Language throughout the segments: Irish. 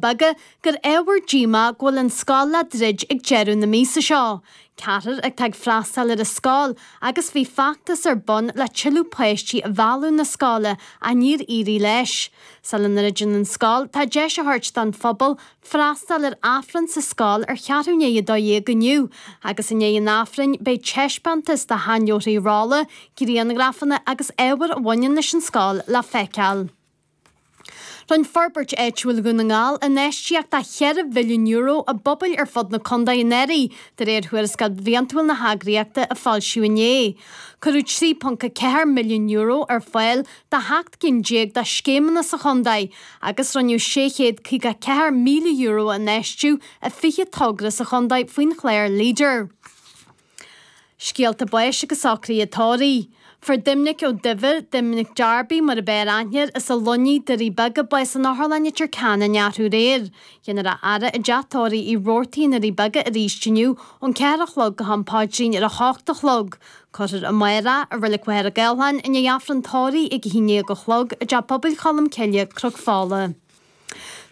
Beaga gur ábhar díomá go bhfuil an scoil le druid ag deireadh na míosa seo. Ceathrar atá ag freastal ar an scoil agus bhí feachtas ar bun le tuilleadh páistí a mhealladh na scoile ach níor éirigh leis. Sula ndruideann an scoil, tá deis á thabhairt don phobal freastal ar Aifreann sa scoil ar cheathrú i ndiaidh 12 inniu agus i ndiaidh an Aifrinn beidh taispeántas de sheanleabharthaí rolla, grianghrafanna agus ábhar a bhaineann leis an scoil le feiceáil. Rinne Forbairt Áitiúil Dhún na nGall infheistíocht de €4 mhilliún i bpobail ar fud na contae anuraidh, de réir thuarascáil bhliantúil na heagraíochta a foilsíodh inné. Cuireadh €3.4 milliún ar fáil do sheacht gcinn déag de scéimeanna sa chontae agus rinneadh €654,000 a infheistiú i 20 togra sa chontae faoin chlár Leader. Scéalta báis agus socruithe tórraimh. Fuair Doimnic Ó Duibhir, Doimnic Darby mar ab fhearr aithne air, as an Luinnigh, Doirí Beaga, bás in Otharlann Leitir Ceanainn arú aréir. Dhéanfar a fhaire i dteach tórraimh Uí Robhartaigh i nDoirí Beaga arís inniu ón 4 a chlog go ham paidrín ar a hocht a chlog. Cuirfear amárach i Reilig Mhachaire Gathlán i ndiaidh Aifreann tórraimh ag a haon déag a chlog i dTeach Pobail Cholm Cille, Cnoc Fola.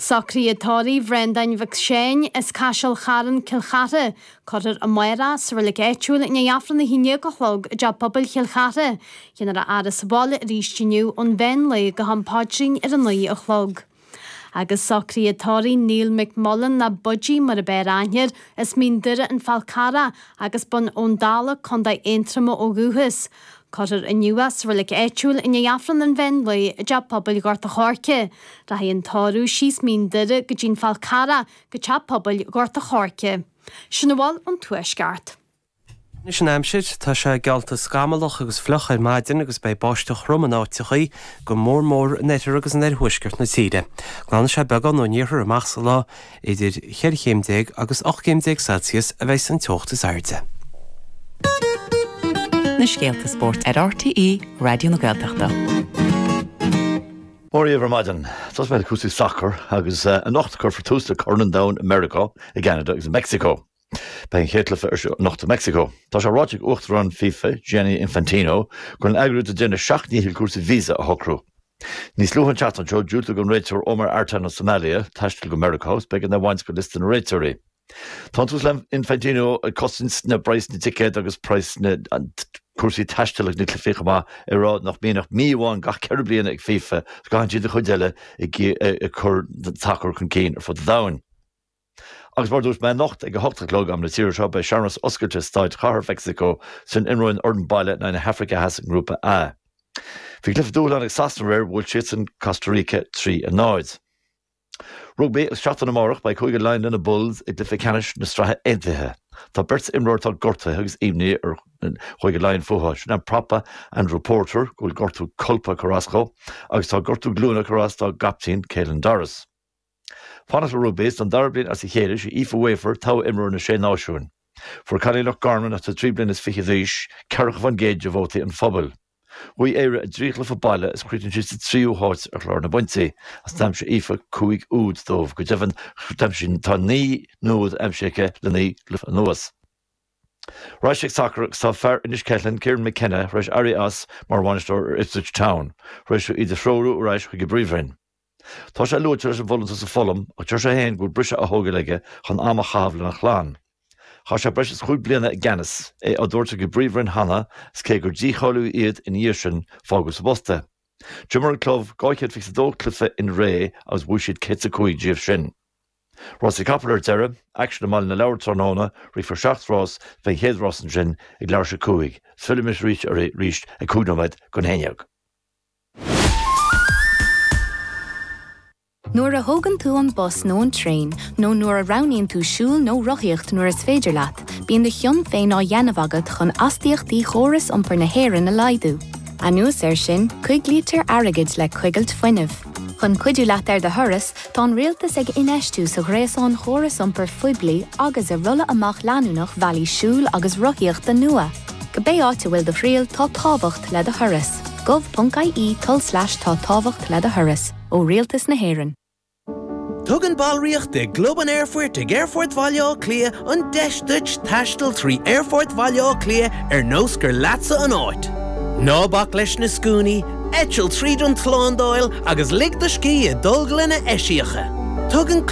Socruithe tórraimh Bhreandáin Mhic Seáin as Caiseal Charn, Cill Chartha. Cuirfear amárach sa reilig áitiúil i ndiaidh Aifreann 11 a chlog i dTeach Pobail Chill Chartha. Dhéanfar a fhaire sa bhaile arís inniu ón mheán lae go ham paidrín ar a 9 a chlog. Agus socruithe tórraimh Neil McMullen nó Budgie mar ab fhearr aithne air, as Mín Doire An Fál Carrach agus b'in ón Dala, Co. Aontroma ó dhúchas. Cuirfear inniu é sa reilig áitiúil i ndiaidh Aifreann an mheán lae i dTeach Pobail Ghort a' Choirce. Rachaidh an tórramh síos Mín Doire go dtí'n Fál Carrach go Teach Pobail Ghort a' Choirce. Sin a bhfuil ón Tuaisceart. Anois an aimsir, tá sé geallta scamallach agus fliuch ar maidin agus beidh báisteach throm in áiteachaí, go mór mór in oirthear agus in oirthuaisceart na tíre. Glanfaidh sé beagán ón iarthar amach sa lá. Idir 14 chéim agus 18 céim Celsius a bheidh an teocht is airde. Na scéalta spóirt ar RTÉ Raidió na Gaeltachta. Mora dhaoibh ar maidin. Tosóidh mé le cúrsaí sacair agus anocht cuirfear tús le Corn an Domhain i Meiriceá, i gCeanada agus i Meicsiceo. Beidh an chéad chluiche ar siúl anocht i Meicsiceo. Tá sé ráite ag Uachtarán FIFA, Gianni Infantino, go bhfuil an eagraíocht ag déanamh a seacht ndícheall cúrsaí visa a shocrú. Níos luaithe an tseachtain seo, diúltaíodh don réiteoir Omar Artan as Somalia taisteal go Meiriceá agus b'éigean dó a bhaint de liosta na réiteoirí. Tá an tUasal Infantino ag cosaint na praghas na dticéad agus praghas na cúrsaí taistil ag na cluichí chomh maith, ag rá nach mbíonn ach mí amháin gach 4 bliana ag FIFA agus go gcaitheann siad an chuid eile ag cur an tsacair chun cinn ar fud an domhain. Agus mar a dúirt mé, anocht ag a hocht a chlog, am na tíre seo, beidh searmanas oscailte Staid Chathair Mheicsiceo sula n-imreoidh an fhoireann baile in aghaidh na hAfraice Theas i nGrúpa A. Bhí cluiche dúshláin ag Sasana aréir, bhuail siadsan Costa Rica 3 a 0. Rugbaí agus seachtain amárach beidh Cúige Laighean le na Bulls i gcluiche ceannais na Sraithe Aontaithe. Tá beirt imreoir atá gortaithe agus imní ar Chúige Laighean fúthu. Sin an prapa Andrew Porter, go bhfuil gortú colpa ag cur as dó, agus tá gortú glúine ag cur as dá gcaptaen Caelan Doris. Fanacht le rugbaí, is don dara bliain as a chéile, sí Aoife Wafer togha imreoir na Sé Náisiúin. Fuair cailín Loch Garman, atá 23 bliana d'aois, 40% de vótaí an phobail. Bhuaigh Éire a dtrí chluiche baile is chríochnaigh siad sa tríú háit ar chlár na bpointí, agus d'aimsigh Aoife 5 úd dóibh. Go deimhin, d'aimsigh tá 9 n-úd aimsithe aici le naoi gcluiche anuas. Ar ais ag sacar agus tá fear Inis Ceithleann, Kieran McKenna, tar éis éirí as mar bhainisteoir ar Ipswich Town, tar éis dó iad a threorú ar ais chuig an bPríomhroinn. Tá sé luaite leis an bhfolúntas i Fulham ach deir sé féin go bhfuil briseadh á thógáil aige chun am a chaitheamh lena chlann. Chaith sé breis is chúig bliana i gceannas, é á dtabhairt chuig an bPríomhroinn cheana is cé gur dícháilíodh iad ina dhiaidh sin, fágadh sa bpost é. D'imir an club 222 cluiche in ré agus bhuaigh siad 105 díobh sin. Rásaí capall ar deireadh, aicsean i mBaile na Lobhar tráthnóna, rithfear seacht rás, beidh an chéad rás ansin ag leathuair tar éis a cúig. Fillfidh mise arís oraibh arís ag cúig nóiméad don haon dhéag. Nuair a thógann tú an bus nó an traein, nó nuair a roghnaíonn tú siúl nó rothaíocht nuair is féidir leat, bíonn do chion féin á dhéanamh agat chun astaíochtaí chóras iompair na hÉireann a laghdú. Anuas air sin, coiglítear airgead le coigilt fuinnimh. Chun cuidiú leat ar do thuras, tá an Rialtas ag infheistiú sa ghréasán chóras iompair phoiblí agus i rolladh amach leanúnach bhealaí siúil agus rothaíochta nua. Cibé áit a bhfuil do thriall, tá tábhacht le do thuras. gov.ie tulslais tá tábhacht le do thuras, ó Rialtas na hÉireann. Tugann ballraíocht i gClub an Aerfoirt ag Aerfort Bhaile Átha Cliath an deis duit taisteal trí Aerfort Bhaile Átha Cliath ar nós gur leatsa an áit. Ná bac leis na scuainí, eitil tríd an tslándáil agus lig do scíth i dtolglanna eisiacha. Tugann.